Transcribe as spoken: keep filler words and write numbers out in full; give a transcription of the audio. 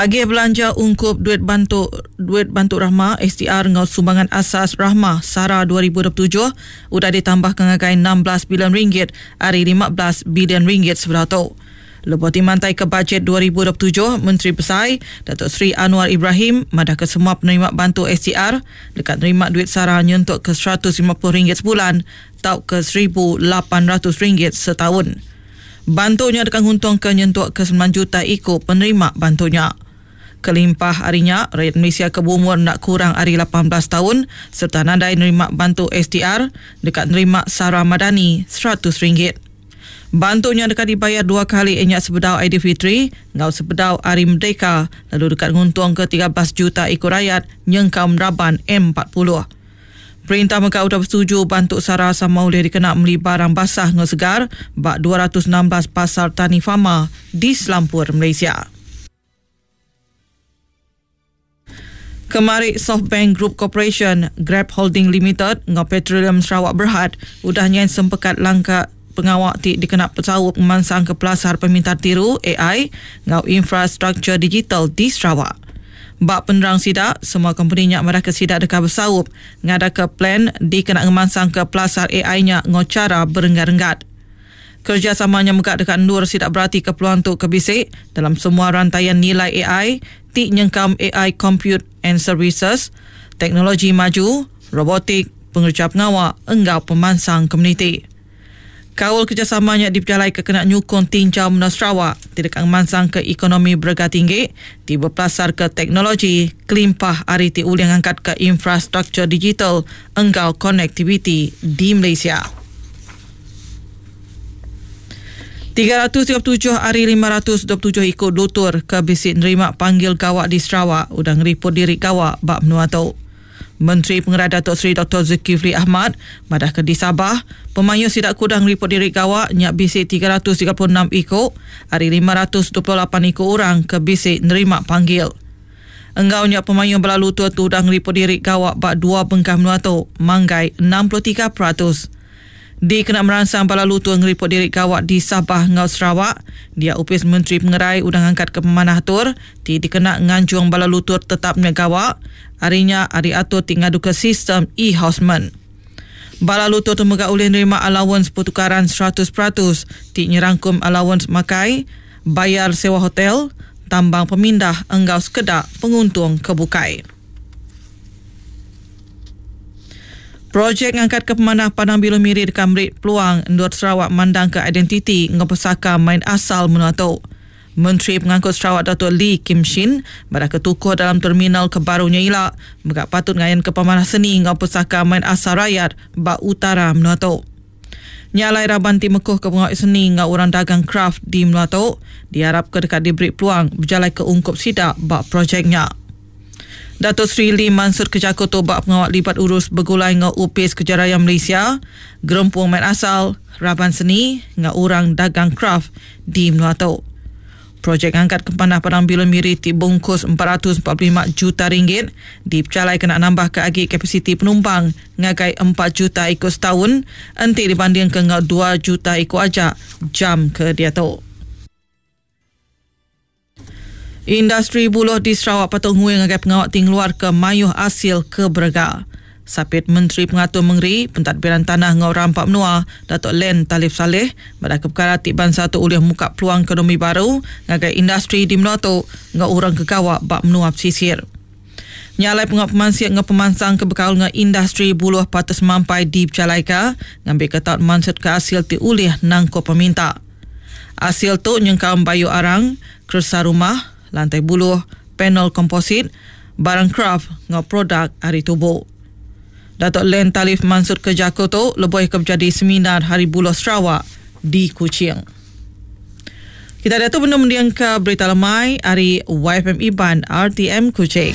Agih belanja ungkup duit bantu duit bantu Rahmah S T R ngau sumbangan asas Rahmah SARA dua ribu dua puluh tujuh udah ditambah ke ngagai enam belas bilion ringgit ari lima belas bilion ringgit sebelah tu. Lebuh dimantai ke bajet dua ribu dua puluh tujuh, Menteri Besai Datuk Seri Anwar Ibrahim madah ke semua penerima bantu S T R dekat nerima duit SARA nyentuk ke seratus lima puluh ringgit sebulan tau ke seribu lapan ratus ringgit setahun. Bantunya dekat nguntung ke nyentuk ke sembilan juta ikut penerima bantunya. Kelimpah harinya, rakyat Malaysia ke berumur nak kurang hari lapan belas tahun serta nadai nerima bantu S T R dekat nerima SARA Madani seratus ringgit. Bantunya dekat dibayar dua kali enyak sebedau Aidilfitri ngau sebedau Hari Merdeka lalu dekat nguntung ke tiga belas juta ikut rakyat nyengkau meraban M empat puluh. Perintah Mekah sudah bersetuju bantu SARA sama boleh dikena beli barang basah ngau segar bak dua ratus enam belas pasar tani fama di Selampur, Malaysia. Kemari SoftBank Group Corporation, Grab Holding Limited ngau Petroleum Sarawak Berhad udah nyen sempekat langkah pengawak ti dikena pesawat memansang ke pelasar pemintar tiru A I ngau infrastruktur digital di Sarawak. Bak penerang sidak, semua company nyak mereka sidak dekat bersaup ngada ke plan dikena ngemansang ke pelasar A I-nya ngau cara berenggat-renggat. Kerjasamanya megak dekat nur sidak berarti keperluan untuk kebisik dalam semua rantaian nilai A I, ti nyengkam A I Compute and Services, teknologi maju, robotik, pengerja pengawak, enggau pemansang komuniti. Kaul kerjasamanya diperjalai ke kena nyukung tinjau Menua Sarawak tidak memansang ke ekonomi berega tinggi, tiba pelasar ke teknologi, kelimpah hari ti ulih angkat ke infrastruktur digital enggau konektiviti di Malaysia. tiga ratus tiga puluh tujuh hari lima ratus dua puluh tujuh ikut lutur ke bisik nerima panggil gawak di Sarawak udah ngeriput diri gawak bak menua tu. Menteri Pengarah Datuk Seri Doktor Zulkifli Ahmad madah ke di Sabah, pemayu sidak kudang ngeriput diri gawak nyak bisik tiga ratus tiga puluh enam ikut hari lima ratus dua puluh lapan ikut orang ke bisik nerima panggil. Enggau nyak pemayu belalu tua tu dah ngeriput diri gawak bak dua bengkah menua tu manggai enam puluh tiga peratus. Di kena merangsang bala lutur ngeriput diri gawak di Sabah ngau Sarawak, dia upis Menteri Pengerai udang angkat ke pemanah atur, ti dikena nganjung bala lutur tetapnya gawak, harinya hari atur ti ngadu ke sistem e-houseman. Bala lutur tu megak ulih nerima allowance pertukaran seratus peratus, ti nyerangkum allowance makai, bayar sewa hotel, tambang pemindah enggau sekedak penguntung kebukai. Projek ngangkat ke pemanah Padang Bilu Miri dekat merik peluang Endur Sarawak mandang ke identiti ngau pesaka main asal menua tu. Menteri Pengangkut Sarawak Datuk Lee Kim Shin pada ketukuh dalam terminal kebarunya ilak megak patut ngayan ke pemanah seni ngau pesaka main asal rakyat bak utara menua tu. Nyalai raban ti mekuh ke pengawak seni ngau orang dagang craft di menua tu diharap ke dekat diberi peluang berjalan ke ungkup sidak bak projeknya. Datuk Seri Lee Mansur Kejaku tu bak pengawak libat urus bergulai ngau U P S Kejaraya Malaysia, gerempung main asal, raban seni, ngau orang dagang craft di menua tu. Projek angkat ke Panah Padang Bilun Miri ti bungkus empat ratus empat puluh lima juta ringgit dipercalai kena nambah ke agi kapasiti penumpang ngagai empat juta ikut setahun enti dibanding ke ngau dua juta ikut ajak jam ke dia tu. Industri buluh di Sarawak patut nguing ngagai pengawak tingluar ke mayuh hasil ke berega. Sapit Menteri Pengatur Mengeri, Pentadbiran Tanah Ngau Rampak Menua, Datuk Len Talif Saleh, pada perkara ti bangsa tu ulih muka peluang ekonomi baru ngagai industri di menua tu ngau orang kegawak bak menua pesisir. Nyalai pengawak pemansiak ngau pemansang ke bekal ngau industri buluh patut semampai di Pecalaika ngambil ke taut mansut ke hasil ti ulih nangko peminta. Hasil tu nyengkau bayu arang, keresa rumah, lantai buluh, panel komposit, barang craft ngau produk hari tubuh. Datuk Len Talif Mansur ke Jakarta lebih ke menjadi seminar Hari Buluh Sarawak di Kuching. Kita ada tu benda mendiang ke berita lemai hari Y F M Iban R T M Kuching.